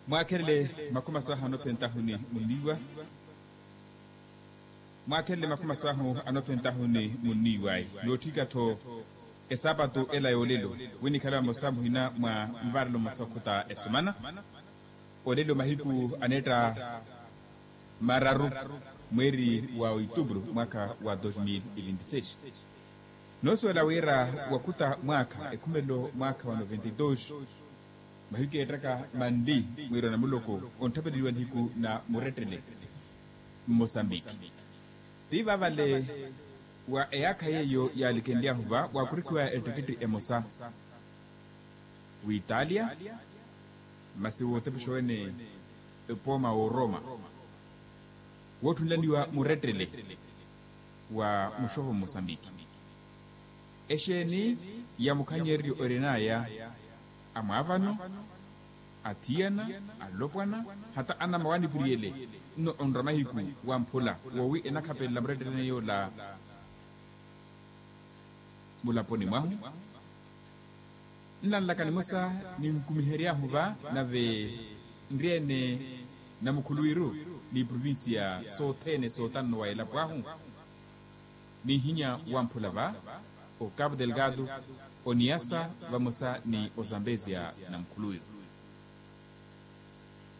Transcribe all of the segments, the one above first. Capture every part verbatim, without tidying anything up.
Mwaakhelele makhumi aso ahu anophentahu ni munniiwa. Mwaakhelele makhumi aso ahu anophentahu ni munniiwayi nootthika-tho esaapatu ela yoolelo, wi nikhale vamosa muhina mwa nvarelo mmosa okhuta esumana. Olelo mahiku aneetta mararu mweeri wa oituburu mwaakha wa dos mil e vinte e seis. Noosuwela wira wakhuta mwaakha ekhumelo mwaakha wa noventa e dos, mahiku eettaka manli mwiirona muloko ontthapeleliwa nihiku na murettele mmosambiki. Ti vaavale wa eyaakha yeeyo yaalikenly'ahu va waakurikhiwa ettikitthi emosa w'italia, masi wootepexa wene epooma w'oroma wootthunlaniwa murettele wa muxovo mmosambiki. Exeeni ya mukhanyereryo orin'aya amwaavano, athiyana, alopwana, hata anamawaanipuriyele nno onra mahiku wamphula woowi enakhapelela muretteleni yoola mulaponi mwahu. Nlanlaka nimosa ninkumihery'ahu va nave nryeene namukhuluwiru ni provincia sothene sootanno wa elapo ahu. Nihinya wamphula va o cabo delgado, oniyasa vamosa ni ozambezia namukhuluwiru.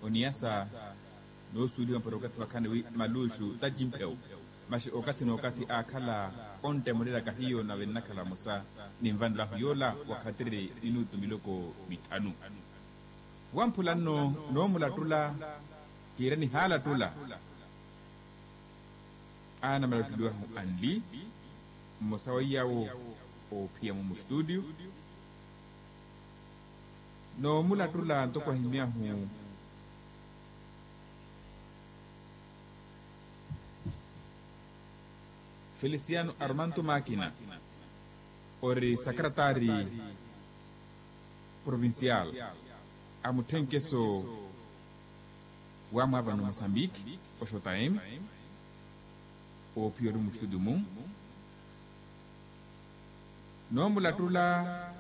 Oniyasa noosuweliwa mpara okathi vakhaani wi maluxu tacimpheu, masi okathi n'okathi aakhala onttemolelaka hiyo nave nnakhala vamosa ni nvanelo ahu yoola wakhatiri minutu miloko mithanu. Wamphula nno noomulattula kiira nihaalattula. Aana malattuliwahu anli mmosa weiyawo oophiya-mu mustutio. Noomulattula ntoko ahimyahu feliciano armanto makina ori sakaratari provincial a mutthenkeso wa mwaavano mosambiki oxotayemi oophiya ori mustutio-mu. Noomulattula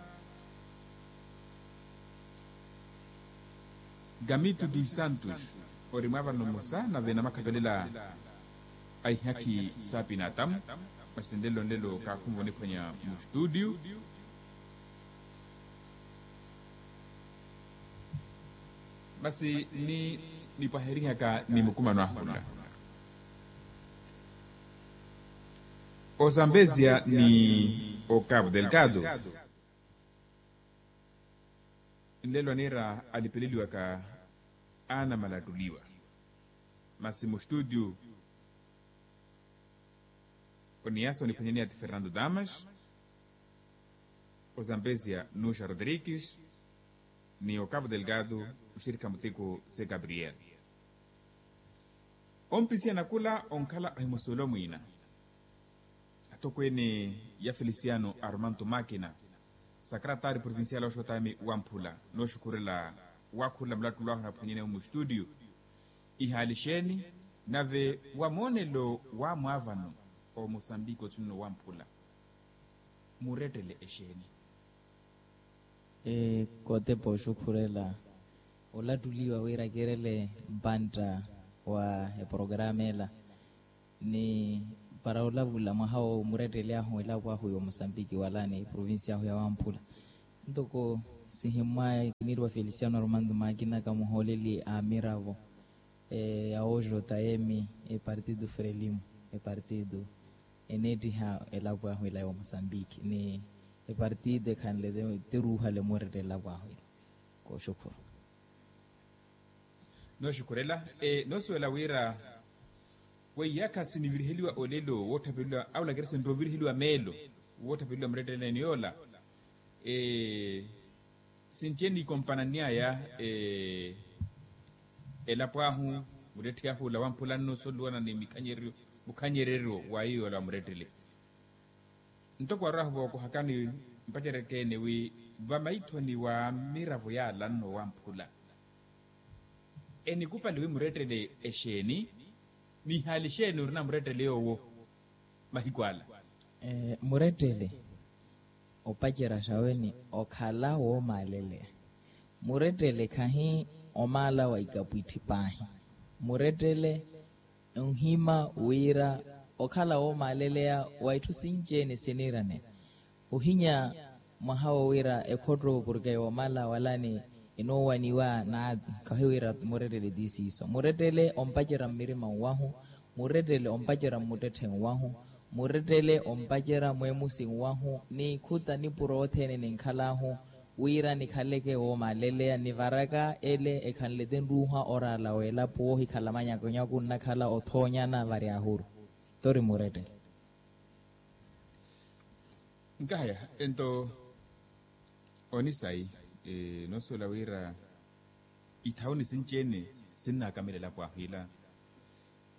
gamito dos santos ori mwaavano mmosa nave namakhapelela a ihakhi saapinatamu. Masi nlelo nlelo kaakhumva oniphwanya mustutio. Masi ni nipwaherihaka ni mukumano ahula ozambezia ni ocabo delgado. Nlelo aniira alipeleliwaka aana malattuliwa. Masi mustutio oniyasa oniphwanyaniya ti fernando damas, ozambezia nuxa rodrigues, ni ocabo delgado oxirikha muteko se gabriel. Ompisiya nakula onkhala ohimusuwela omwiina atokweene ya feliciano armanto makina, sakaratari provincial oxotami wamphula nooxukhurela wakhurela mulattulo ahu naphwanyaniya mustutio. Ihaali xeeni nave wa moonelo wa mwaavano omosambiki othunino wamphula murettele exeeni? Kootepa oxukhurela olattuliwa wira kiirele mpantta wa eporokaramu ela ni para olavula mwaha wo murettele ahu elapo ahu ya omosambiki wala ni provincia ahu ya wamphula. Ntoko sihimmwaya kiniiriwa feliciano armando makina kamuhooleli a miravo ya oxotayemi epartido frelimo epartido eneettiha elapo ahu ela ya omosambiki ni epartido ekhanle ti ruuhale murettele elapo ahu ela. Kooxukhuru. Nooxukhurela noosuwela wira weiyaakha siniviriheliwa olelo wootthapelela awo lakira sinroviriheliwa meelo wootthapelela muretteleni yoola. Sinci enikompananiyaya elapo ahu muttetthe ahu ola wamphula nno soluwana ni mukhanyereryo wa iyo yoola wa murettele. Ntoko arwahu vookohakani mpacereke-ene wi vamaithoni wa miravo yaala nno wamphula enikupali wi murettele exeeni? Ni ihaali xeeni orina murettele yoowo mahiku ala? Murettele opacerya xaweni okhala woomaaleleya. Murettele khahi Omaala wa ikapwitthi paahi murettele onhima wira okhala woomaaleleya wa itthu sinci-ene siniiraneya. Ohinya mwaha wo wira ekhotto porke woomaala walani enoowaniwa naati. Khahi wira murettele ti siiso murettele ompacerya mmirima nwahu, murettele ompacerya mmuttetthe nwahu, murettele ompacerya mweemusi nwahu ni ikhuta nipuro othene ninkhal'ahu wira nikhaleke woomaaleleya nivaraka ele ekhanle tinruuha oraala w'elapo woohikhala manyakunyaku nnakhala othoonyana vari ahuru. Tori murettele. Nkahaya ento onisayi noosuwela wira ithawuni sinci-ene sinnaakamela elapo ahu ila.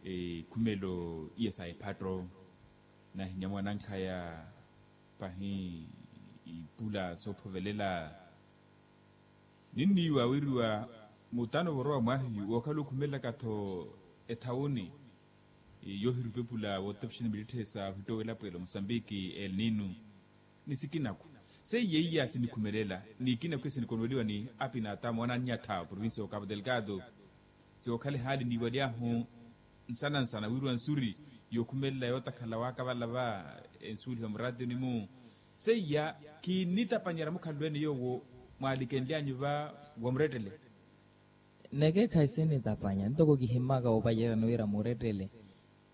Ikhumelo iya sa ephatto nahinya mwanankhaya pahi ipula soophovelela. Ninniiwa wiriwa mutano vorowa mwahiyu wookhala okhumelelaka-tho ethawuni yoohirupepula wootapixani miritthe sa ohittowa elapo ela mosambiki elninu. Ni sikinaku seiya iya sinikhumelela ni ikinaku iya sinikonweliwa ni apinatamu anannyatha provincia ya okapo delgado. Siwookhala ehaali niiwaly'ahu nsana nsana wiriwa nsuri yookhumelela yootakhala waakavalava ensuuliha muraatiyoni-mu. Seiya kinnitapanyerya mukhalelo ene yoowo mwaalikenly'anyu va wa murettele. Neke khasinitapanya ntoko kihimmaka woopaceryani wira murettele.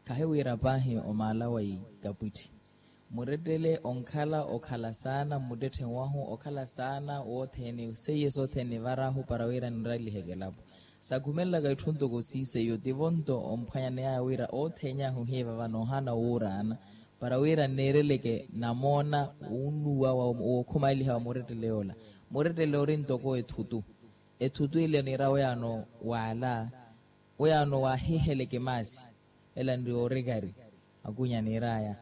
Khahi wira paahi omaala wa ikapwitthi murettele onkhala okhala saana mmuttetthe nwahu okhala saana wothene seiye sothene nivarahu para wira ninraliheke elapo. Sakhumelelaka itthu ntoko siiseiyo tivo nto omphwanyaney'aya wira othene ahu ohiiva vano ohana wuuraana para wira nneereleke namoona wunnuwa wookhumaaliha wa murettele yoola. Murettele ori ntoko ethutu. Ethutu ile oniira weyaano waala weyaano waahiheleke maasi ela nri oorikari. Akunya niir'aya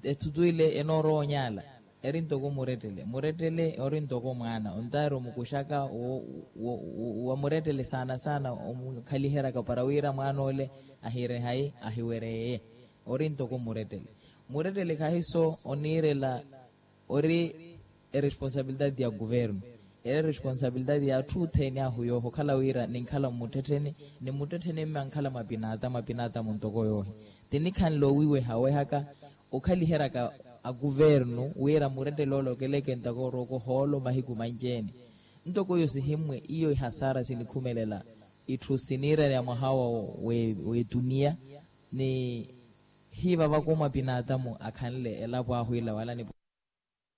ethutu ile enoorowa onyaala eri ntoko murettele murettele ori ntoko mwaana ontaari omukuxaka wa murettele saana saana omukhaliheryaka para wira mwaan'ole ahirehayi ahiwereye. Ori ntoko murettele murettele khahiso oniirela ori eresponsabilidade ya kuvernu eri eresponsabilidade ya atthu othene ahu yooho okhala wira ninkhala mmuttettheni ni mmuttettheni mme ankhala mwa pinaatamu apinaatamu ntoko yoohi. Tinikhanle owiweha wehaka okhaliheryaka akuvernu wira murettele ole okeleke ntoko orooka ohoolo mahiku manci-ene. Ntoko iyo sihimmwe iyo ihasara sinikhumelela itthu siniiraneya mwaha wa w'etuniya ni hiivavaka omwa pinaatamu akhanle elapo ahu ila wala ni